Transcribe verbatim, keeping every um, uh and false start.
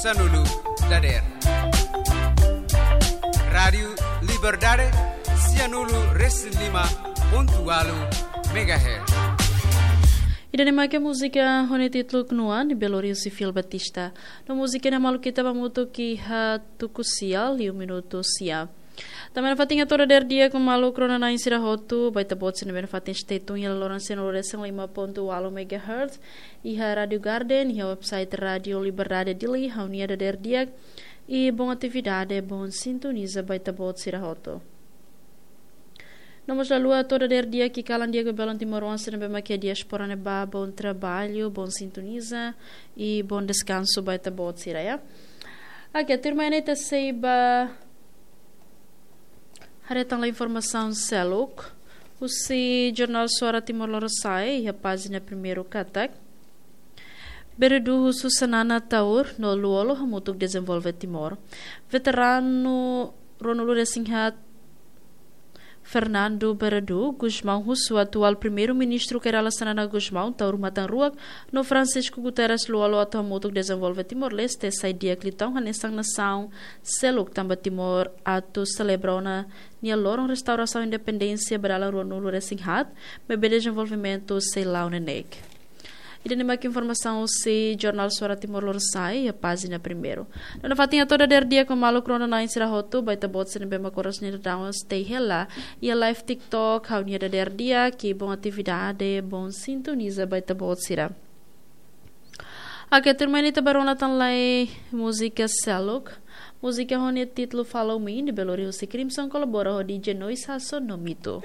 Sanulu dader. Rádiu Liberdade, sianulu resin lima pontu walu megahertz. Ida-ne'e mak múzika ho nia títulu Knuan, ne'ebé lori husi Fil Batista. No múzika ne'e maluk ita ba hamutuk iha tuku sia liu minutu sia. Tanba ne'e fatin hato'o dader di'ak maluk rona-na'in sira hotu, ba ita-boot sira ne'ebé fatin stay tune iha loron sianulu resin lima pontu walu megahertz, iha Rádiu Garden, iha website Rádiu Liberdade Dili, ha'u-nia dader di'ak, i boa atividade, boa sintoniza ba ita-boot sira hotu. No mós lalais hato'o dader di'ak i kalan di'ak ba belun timoroan sira ne'ebé mak iha diáspora ne'ebá, boa trabalho, boa sintoniza, i boa deskansu ba ita-boot sira, ya. Oke, tuirmai ne'e ita sei ba haree tan lai informasaun seluk husi Jornál Suara Timor Lorosa'e, iha pájina primeiru katak: Beredu husu Xanana Taur no Lú-Olo hamutuk dezenvolve Timor. Veteranu ruanulu resin haat Fernando Beredu Gusmão husu atuál Primeiru-Ministru Kay Rala Xanana Gusmão, Taur Matan Ruak, no Francisco Guterres Lú-Olo atu hamutuk dezenvolve Timor-Leste sai di'ak liután hanesan nasaun seluk, tanba Timor atu selebra ona nia loron restaurasaun independénsia ba dalan ruanulu resin haat, maibé dezenvolvimentu sei la'o neineik. Ida-ne'e mak informasaun husi Jornál Suara Timor Lorosa'e, iha pájina primeiru. No nafatin hato'o dader di'ak maluk rona-na'in sira hotu, ba ita-boot sira ne'ebé mak oras ne'e daudaun stay hela iha live TikTok, ha'u-nia dader di'ak, i boa atividade, boa sintoniza ba ita-boot sira. Oke, tuirmai ne'e ita ba rona tan lai múzika seluk. Múzika ho nia títulu Follow Me, ne'ebé lori husi Crimson, kolabora ho D J Noise Hasso no Mito.